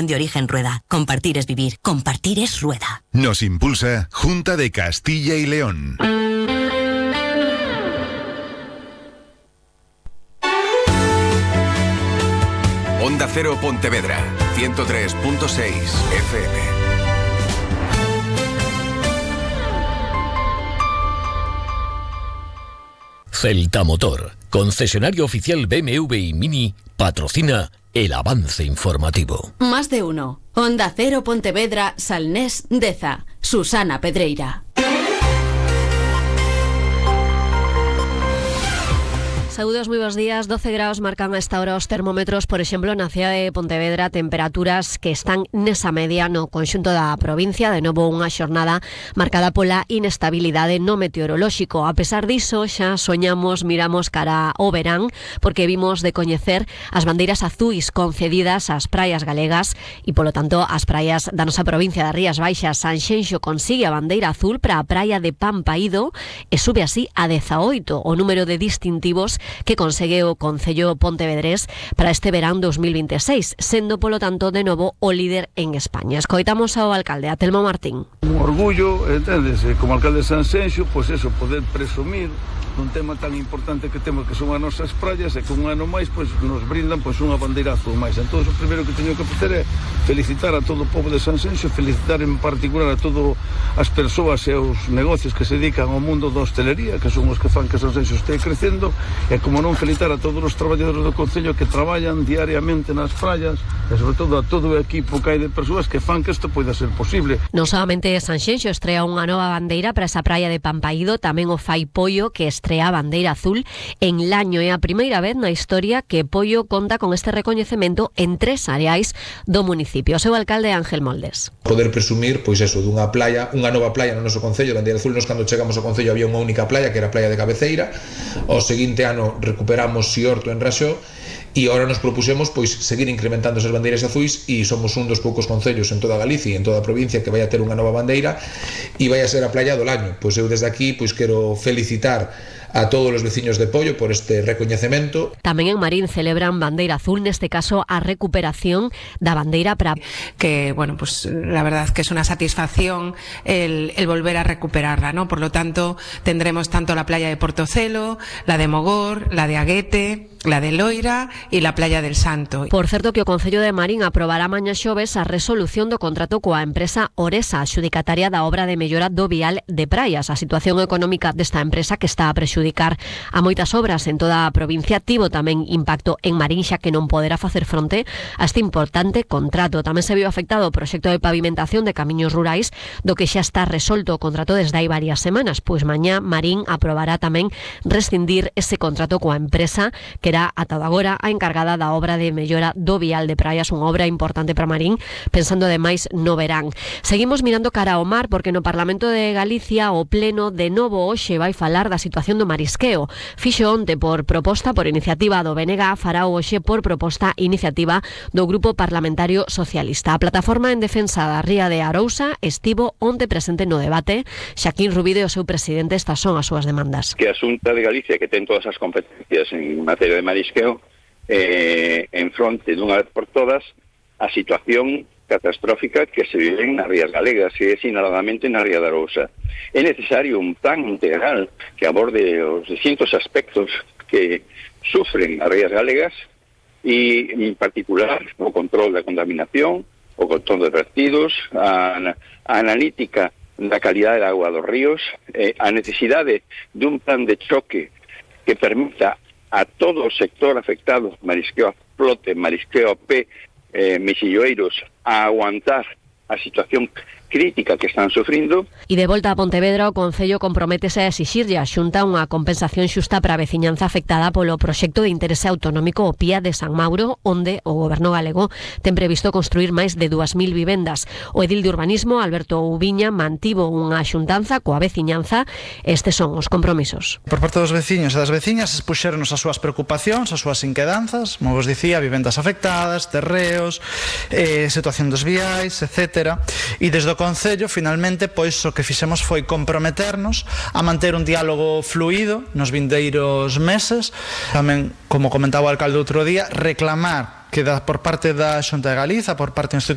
de origen Rueda. Compartir es vivir. Compartir es Rueda. Nos impulsa Junta de Castilla y León. Onda Cero Pontevedra, 103.6 FM. Celta Motor, concesionario oficial BMW y Mini, patrocina el avance informativo. Más de uno. Onda Cero Pontevedra, Salnés, Deza. Susana Pedreira. Saúdos, moi bons días. 12 graus marcan a esta hora os termómetros, por exemplo, na cidade de Pontevedra, temperaturas que están nesa media no conxunto da provincia. De novo unha xornada marcada pola inestabilidade no meteorolóxico. A pesar diso, xa soñamos, miramos cara ao verán, porque vimos de coñecer as bandeiras azuis concedidas ás praias galegas e, polo tanto, as praias da nosa provincia das Rías Baixas. Sanxenxo consigue a bandeira azul para a praia de Pampaído e sube así a 18 o número de distintivos que consegue o Concello pontevedrés para este verán 2026, sendo polo tanto de novo o líder en España. Escoitamos ao alcalde, a Telmo Martín. Un orgullo, entendes, como alcalde de Sanxenxo, pois eso, poder presumir dun tema tan importante que temos, que son as nosas praias, e que un ano máis pois nos brindan pois unha bandeira azul máis. Entón, o primeiro que teño que facer é felicitar a todo o povo de Sanxenxo, felicitar en particular a todas as persoas e os negocios que se dedican ao mundo da hostelería, que son os que fan que Sanxenxo este crecendo, e como non felicitar a todos os traballadores do Concello que traballan diariamente nas praias, e sobre todo a todo o equipo que hai de persoas que fan que isto poida ser posible. Non solamente Sanxenxo estrea unha nova bandeira para esa praia de Pampaído, tamén o fai Poio, que estrea a bandeira azul en Laño. É a primeira vez na historia que Poio conta con este recoñecemento en 3 areais do municipio. O seu alcalde Ángel Moldes. Poder presumir, pois eso, dunha playa, unha nova playa no noso concello, bandeira azul. Nos cando chegamos ao concello había unha única playa, que era a playa de Cabeceira. O seguinte ano recuperamos Siorto en Raxó, e agora nos propusemos pois seguir incrementando esas bandeiras azuis, e somos un dos poucos concellos en toda Galicia e en toda a provincia que vai a ter unha nova bandeira e vai a ser a playa do Laño. Pois eu desde aquí pois quero felicitar a todos os veciños de Poio por este recoñecemento. Tamén en Marín celebran bandeira azul, neste caso a recuperación da bandeira para que, bueno, pues la verdad que es una satisfacción el volver a recuperarla, ¿no? Por lo tanto, tendremos tanto la playa de Portocelo, la de Mogor, la de Aguete, la de Loira e la playa del Santo. Por certo que o Concello de Marín aprobará mañá xoves a resolución do contrato coa empresa Oresa, adxudicataria da obra de mellora do vial de praias. A situación económica desta empresa, que está a prexudicar a moitas obras en toda a provincia, tivo tamén impacto en Marín, xa que non poderá facer fronte a este importante contrato. Tamén se viu afectado o proxecto de pavimentación de camiños rurais, do que xa está resolto o contrato desde hai varias semanas. Pois mañá Marín aprobará tamén rescindir ese contrato coa empresa que era ata agora a encargada da obra de mellora do vial de praias, unha obra importante para Marín, pensando ademais no verán. Seguimos mirando cara ao mar, porque no Parlamento de Galicia o Pleno de novo hoxe vai falar da situación do marisqueo. Fixo onte por proposta, por iniciativa do BNG, fará hoxe por proposta iniciativa do Grupo Parlamentario Socialista. A plataforma en defensa da ría de Arousa estivo onte presente no debate. Xaquín Rubide, o seu presidente, estas son as súas demandas. Que a Xunta de Galicia, que ten todas as competencias en materia de marisqueo, en fronte dunha vez por todas a situación catastrófica que se vive nas rías galegas, e sinaladamente na ría de Arousa. É necesario un plan integral que aborde os distintos aspectos que sufren as rías galegas, e en particular o control da contaminación, o control de vertidos, a analítica da calidade da agua dos ríos, a necesidade dun plan de choque que permita a todo o sector afectado, marisqueo a flote, marisqueo a pé, mexilloeiros, a aguantar a situación crítica que están sufrindo. E de volta a Pontevedra, o Concello comprométese a exixirlle a Xunta unha compensación xusta para a veciñanza afectada polo proxecto de interese autonómico o PIA de San Mauro, onde o Goberno galego ten previsto construir máis de 2.000 vivendas. O edil de urbanismo, Alberto Ubiña, mantivo unha xuntanza coa veciñanza. Estes son os compromisos. Por parte dos veciños e das veciñas expuxéronos as súas preocupacións, as súas inquedanzas, como vos dicía, vivendas afectadas, terreos, situación dos viais, etc. E desde o Concello, finalmente, pois o que fixemos foi comprometernos a manter un diálogo fluido nos vindeiros meses. Tamén, como comentaba o alcalde outro día, reclamar que por parte da Xunta de Galiza, por parte do